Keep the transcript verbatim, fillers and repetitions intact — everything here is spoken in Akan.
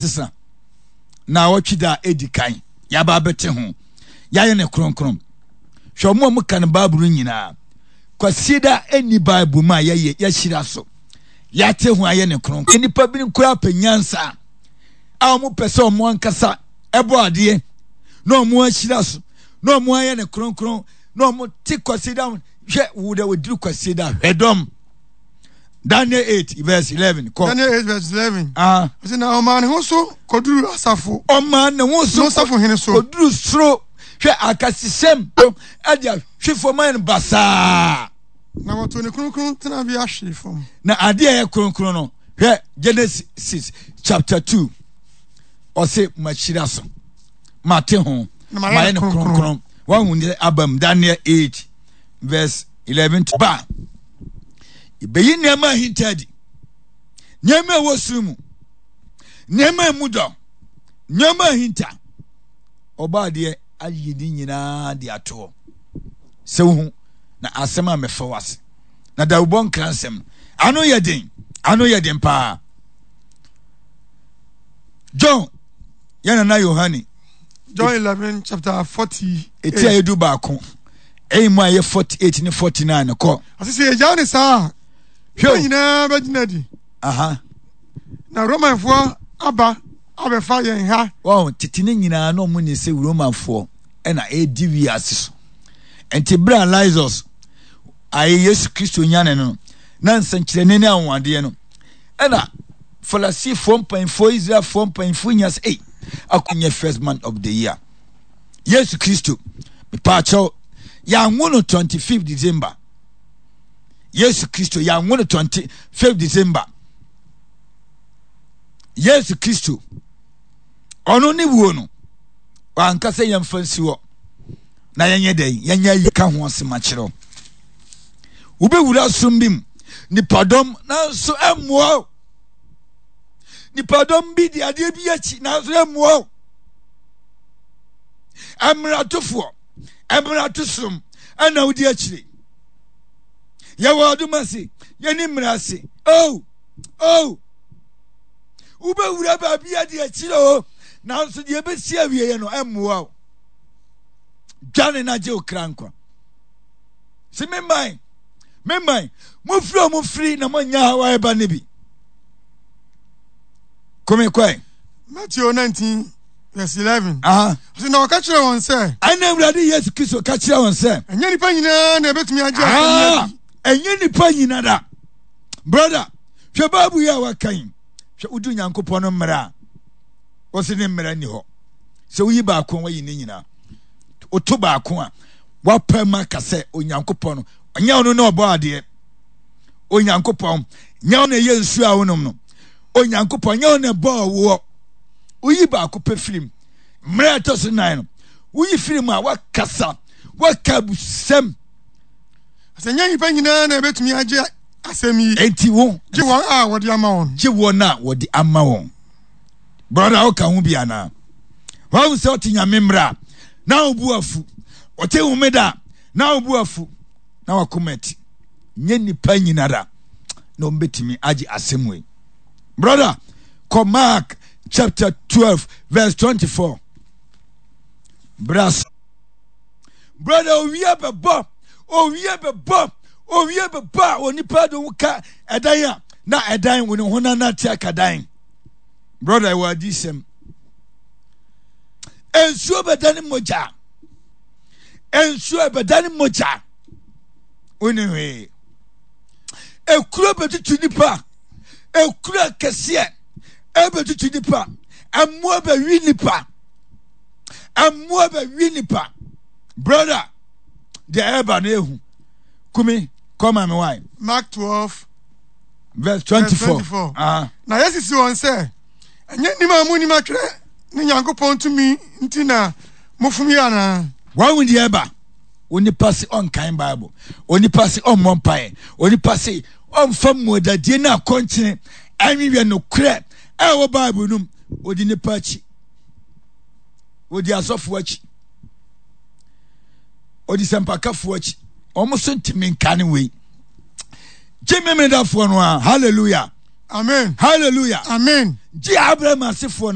Sesa naawɔtwe da a edi kan yɛaba abɛte ho yɛayɛ no kronkron. Hwɛ ɔmo a ɔmo ka no Bible no nyinaa. Kwasieda ɛnni Bible mu a yɛyɛ yɛahyira so yɛate ho ayɛ no kronkron. Nnipa binom koraa pɛ nyansa a ɔmo pɛ sɛ ɔmo ankasa ɛbɔ adeɛ na ɔmo ahyira so na ɔmo ayɛ no kronkron na ɔmo te Kwasieda ho. Hwɛ wo dɛ wɔduru Kwasieda hwɛ dɔm. Daniel eight verse eleven kɔ. Daniel eight verse eleven. Ah. Ɔsɛ na ɔmaa ne ho so kɔduru asafo. Ɔmaa ne ho so no safohene so. Kɔduru soro. Hwɛ akasesɛm ɛde ahwe fam ayɛ no basaa. Na wɔtoo ne kronkron tenabea hwee fam. Na adeɛ a ɛyɛ kronkron no, hwɛ Genesis chapter two. Ɔse mahyira so, mate ho, mayɛ no kronkron. Wahu ne abam Daniel eight verse eleven to ba. Yɛbɛyi nneɛma ahinta adi, nneɛma a ɛwɔ soro mu, nneɛma a emu dɔ, nneɛma ahinta. Ɔbɔ adeɛ ayi ne nyinaa de atoɔ sɛ wohu na asɛm a mɛfa wo ase na dawubɔ nkra nsɛm ano yɛ den, ano yɛ den paa. John yɛn nana Yohane John eleven chapter forty eight. Eti a yɛdu baako ɛyi mu a yɛ forty eight ne forty nine kɔ. Asese yɛgyaa ne saa a, hwɛ nyinaa bɛgyina di. Aha. Na Romanfoɔ aba abɛfa yɛn ha. Wɔn tete ne nyinaa na wɔn ni sɛ Romanfoɔ ɛna ɛredi wiase so. Nti bere a Lazarus ayɛ Yesu Kristo nyane no na nsɛnkyerɛnne ne anwanwadeɛ no ɛna Farisifoɔ mpanyinfoɔ Israelfoɔ mpanyinfoɔ nyinaa sɛ ei akɔnyɛ first month of the year. Yesu Kristo mepaakyɛw yɛanwo no twenty fifth December. Yesu Kristo yɛanwo no twenty fifth December. Yesu Kristo ɔno ne wuo no wanka sɛ yɛmfa nsi hɔ na yɛnyɛ dɛn yɛnyɛ ayi ka ho asɛm akyerɛw. Wobɛwura som bi mu nipadɔm nanso ɛmmoa wo. Nipadɔm bi di adeɛ bi akyi nanso ɛmmoa wo. Mmeratofoɔ mmeratosom ɛna wodi akyire. Yɛwɔ adom ase yɛne mmara ase. Oh oh wobɛwura baabi adi akyire o nanso deɛ ɛbɛsi awieɛ no ɛmmoa wo. Dwane na gye wo kra nkwa. Si me man me man mofiri ɔmo firi na moanya hawa ɛba no bi. Kome kɔe. Matthew nineteen verse eleven. Aha. Ɔsɛ na ɔka kyerɛ wɔn sɛ. Ɛna Awurade Yesu Kristo ka kyerɛ wɔn sɛ. Ɛnyɛ nipa nyinaa na ɛbɛtumi agye asɛm yi adi. Ɛnyɛ nipa nyinaa da. Brother, hwɛ Bible yi a waka yi. Hwɛ wodi Onyankopɔn no mmara a wɔsi ne mmara nni hɔ. Sɛ woyi baako a wayi ne nyinaa. Woto baako a wapɛ ma ka sɛ Onyankopɔn no ɔnyɛ ɔno na ɔbɔ adeɛ. Onyankopɔn nyɛ ɔno na ɛyɛ nsuo a wonom no. Onyankopɔn nyɛ ɔno na ɛbɔɔ woɔ. Woyi baako pɛ firim. Mmerɛ a ɛtɔ so nan no, woyi firim a wakasa, waka abusɛm. Sɛ nyɛ nnipa nyinaa na ɛbɛtumi agye asɛm yi. Enti wo. Gye wɔn a wɔde ama wɔn. Gye wɔn a wɔde ama wɔn. Brɔda, woka ho bi anaa? Wahu sɛ ɔte Nyame mmara a, na wo bo afu. Ɔte homeda a, na wo bo afu. Na wakoma ati. Nyɛ nnipa nyinara na wɔbɛtumi agye asɛm wei. Brɔda, kɔ Mark chapter twelve verse twenty-four. Bras. Brɔda, owia bɛbɔ, owia bɛbɔ, owia bɛbɔ a onipa de wo ka ɛdan a na ɛdan wo ne ho na nante aka dan. Brɔda, ɛwɔ adiyisɛm. Nsuo bɛdane mogya. Nsuo bɛdane mogya. Wone hwee. Ekuro bɛtutu nipa. Ekuro akɛseɛ ɛbɛtutu nipa. Mmoa bɛwi nipa. Mmoa bɛwi nipa. Brother, deɛ ɛreba no ehu. Kumi, kɔma me wae. Mark twelve verse twenty-four. Ah. Na yɛsisi wɔn sɛ, ɛnyɛ nim a monim atwerɛ ne Nyankopɔn tumi nti na mofom yi anaa? Wɔn deɛ ɛba. Onipa se ɔnkan Bible. Onipa se ɔmmɔ mpaeɛ. Onipa se ɔmfa mmuadadie ne akɔnkyene ɛnwewɛ nokorɛ ɛwɔ Bible no mu. Ɔdi nipa akyi. Ɔdi asɔfoɔ akyi. Ɔdi sɛmpakafoɔ akyi. Wɔn nso ntumi nka ne wei. Gye memedafoɔ no a. Hallelujah. Amen. Hallelujah. Amen. Gye Abraham asefoɔ no.